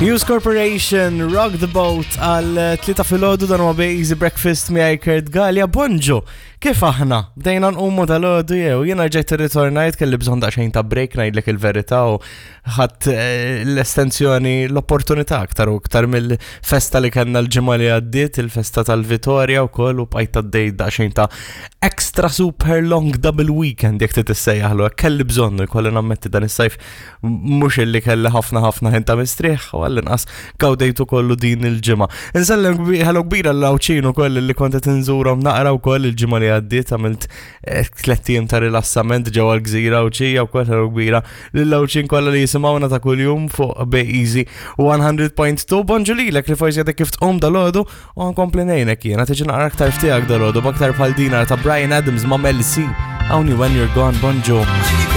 News Corporation, Rock the Boat għal tlita filgħodu dan huwa Easy Breakfast miegħi Kurt Gallia. Bonġu, kif aħna? Bdejna nqumu dal-għodu jew jiena ġejt irritornajt kelli bżonn daqsxejn ta' break ngħidlek il-verità u ħadd eh, l-estensjoni l-opportunità aktar u aktar mill-festa li kellna l-ġimgħa li għaddiet, il-festa tal-Vitorja wkoll u bqajt għaddej daqsxejn ta' extra super long double weekend jekk trid issejjaħlu hekk kelli bżonnu jkolli nammetti dan is-sajf mhux illi kelli ħafna ħafna ħin ta' mistrieħ u għall-inqas gawdejtu kollu din il-ġimgħa. Insellem ħelu kbira l-Għawdxin ukoll li kont qed inżurhom naqra wkoll il-ġimgħa li għaddiet għamilt eh, tlett ijiem ta' rilassament ġewwa l-gżira Għawdxija wkoll ħelu kbira lill-Għawdxin kollha li jisimgħuna ta' kuljum fuq Bay Easy 100.2. Bonġu lilek li forsi għadek kif tqum dal-għodu u nkompli ngħinek jiena tiġi naqra aktar ftiegħek dal-għodu b'aktar bħal dinar ta' Brian Adams ma' Mel C. Only when you're gone, bonġu.